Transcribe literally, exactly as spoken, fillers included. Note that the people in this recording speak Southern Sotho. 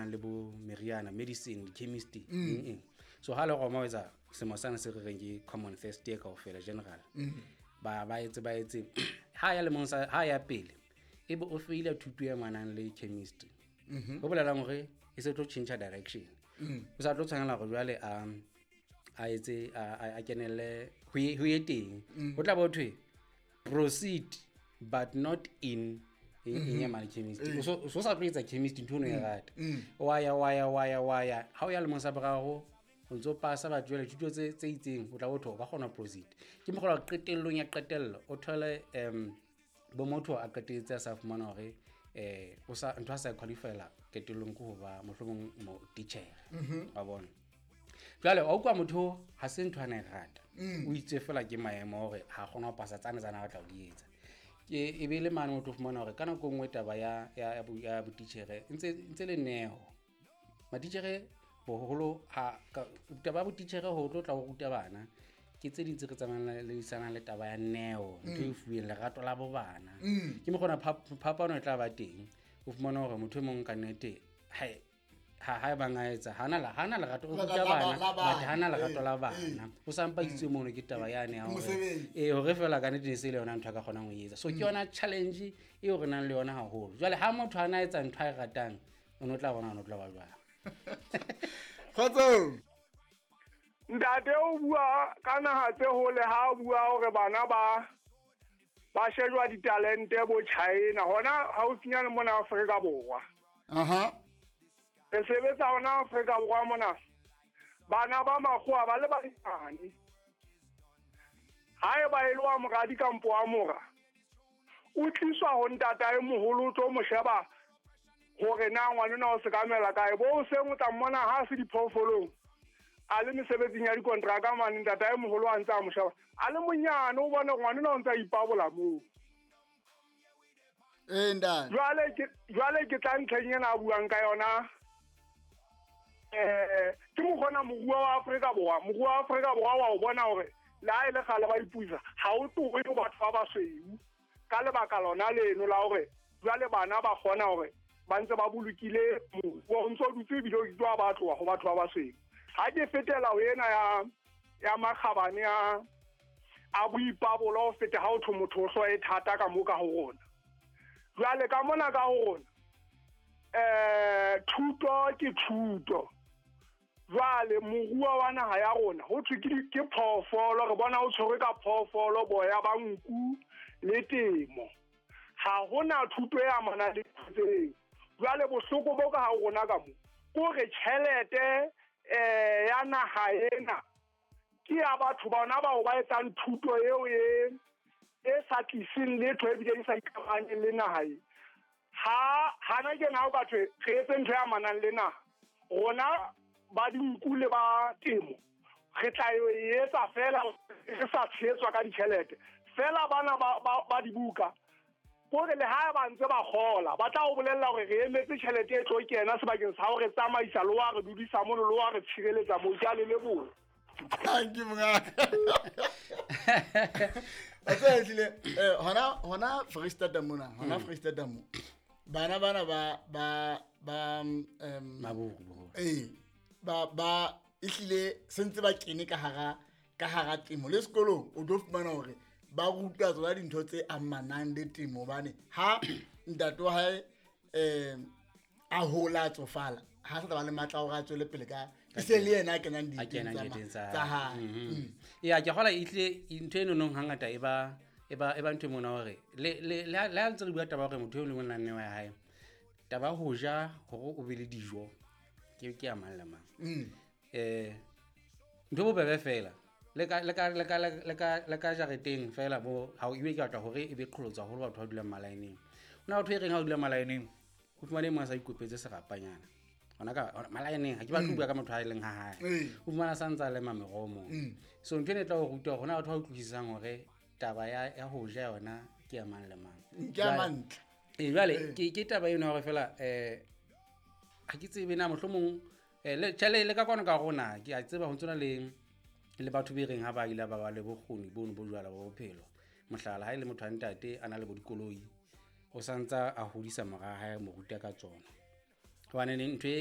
amanang le bo meriana, medicine, chemistry, eng eng. So ha le Roma o etsa semo sane se re reng ke common first year kaofela general. Ba ba etse ba etse ha ya lemong sa ha ya pele e be o feila thuto e amanang le chemistry. Ho bolelang hore e se tlo tjhentjha direction. O sa tlo tshwanela hore jwale a a etse a a- a kenelle ho ye ho ye teng. Ho tla bo thwe proceed but not in eng eng ya mane chemistry. O so o so sa tlo etsa chemistry, ntho eno e rata. Wa ya wa ya wa ya wa ya ha o ya lemong sa boraro, o ntso pasa batho jwale thuto tse tse itseng, o tla bo thwe o ka kgona proceed. Ke mokgwa wa qetellong ya qetello o thole um bo motho a qetelletse a sa fumana hore eh o sa ntho a sa qualifyela qetellong ke ho ba mohlomong mo titjhere wa bona. Jwale wa utlwa, motho ha se ntho a na e rata, o itse fela ke maemo hore ha kgona ho pasa tsane tsane a batla ho di etsa. Ke e be le mane o tlo fumana hore ka nako e nngwe taba ya ya ya bo- ya botitjhere e ntse ntse le neo. Matitjhere boholo ha ka- taba ya botitjhere ho tlo tla ho ruta bana ke tse ding tse re tsamaisanang le taba ya neo, ntho e fuweng lerato la bo bana. Ke mokgona phapano e tla ba teng. O fumana hore motho e mong ka nnete hae ha ha ebang a etsa hana la hana lerato o La- ruta la- la- bana, la bana. but hana lerato Eh, la bana, o sampa itse mono ke taba yane ya hore Mosebetsi. ee, hore fela ka nnete e se le yona ntho a ka kgonang ho e etsa. So ke yona challenge eo re nang le yona haholo. Jwale ha motho a na etsa ntho a e ratang, o no tla bona o no tla ba jwang. Kgotsong. Ntate o bua ka naha tse hole, ha o bua hore bana ba ba shejwa ditalente bo China hona haufinyane mona Afrika Borwa. Aha. Re sebetsa hona Afrika Borwa mona, bana ba makgowa ba le banyane, ha eba e le wa moradi kampo wa mora, o tliswa ho ntatae moholo, o tlo mo sheba hore na ngwanona o sekamela kae. Bo hoseng o tla mmona ha se diphoofolong, a le mesebetsing ya dikontraka mane, ntatae moholo a ntse a mo sheba a le monyane, o bone ngwanona o ntse a ipabola moo. Ee, ntate. Jwale ke jwale ke tla ntlheng ena a buang ka yona. eh ke mokgona moruo wa Afrika Borwa, moruo wa Afrika Borwa wa o bona hore le ha e le kgale ba ipuisa, ha o tlohe ho batho ba basweu ka lebaka lona leno la hore jwale bana ba kgona hore ba ntse ba bolokile moruo o ntso dutse, ebile o ke wa ba tloha ho batho ba basweu. Ha ke fetela ho ena ya ya makgabane a a boipabolo ho feta ha o thwe motho o hlooho e thata ka mo ka ho rona. Jwale ka mona ka ho rona, eh thuto ke thuto. Jwale moruo wa naha ya rona ho thwe ke di- ke phoofolo, re bona o tshwerwe ka phoofolo, boya ba nku le temo, ha hona thuto e amanang le tseo. Jwale bohloko bo ka ha rona ka mo ke hore tjhelete eh ya naha ena ke ya batho bona bao ba etsang thuto eo e e sa tliseng letho, ebile e sa ikamahanyeng le naha e. Ha hana ke na o ka thwe re etse ntho e amanang le naha rona, ba dinku le ba temo re tla e etsa fela re sa tshehetswa ka ditjhelete fela. Bana ba, ba, ba dibuka kore le ha ba ntse ba kgola, ba tla o bolella hore re emetse tjhelete e tlo kena sebakeng sa hore tsamaisa le wa re dudisa mono le wa re tshireletsa moo. Ke a le leboha. Thank you, mongaka. Wa tseba, ehlile, eh, hona hona Freistata mona, hona Freistata mo bana bana ba ba ba um Maburu boholo. Ee, ba ba ehlile sentse ba kene ka hara ka hara temo le sekolong, o tlo fumana hore ba rutwa tsona dintho tse amanang le temo, hobane ha ntate wa hae um a hola, a tsofala, ha sa tla ba le matla a hore a tswele pele ka e se le yena a kenang a diteng kenang tsa ma- diteng tsa tsa hae. Mhm. Ya, ke kgola ehlile ntho eno nong hangata e ba e ba e ba ntho e mona hore le le le ha le ha ntse re bua taba ya hore motho e mong le mong o na le neo ya hae, taba ya ho ja hore o be le dijo ke ke ya mang le mang. Mm. eh ntho e bobebe fela le ka le ka le ka le ka le ka jareteng fela bo ha o ebe ke batla hore e be qholotsa haholo batho ba dulang malaeneng. Ho na batho e reng ha o dula malaeneng, o fumane e mong a sa ikopetse serapanyana hona ka hona malaeneng. Ha ke batle ho bua ka motho a e leng ha hae. Ee. O fumana sa ntsa lema meroho moo. So ntho ena e tla o ruta hore hona batho ba utlwisisang hore taba ya ya ho ja yona ke ya mang le mang. Ke ya Jwale- mantle. Ee, jwale ke ke taba eno ya hore fela eh ha ke tsebe na mohlomong eh, le tjhe, le ka kwano ka rona ke a tseba ho ntsona le le batho be reng ha ba ile ba ba le bokgoni bono bo jwala ba bophelo. Mohlala, ha e le motho wa ntate a na le bo dikoloi, o santsa a hodisa mora hae, mo ruta ka tsona, hobane ne ntho e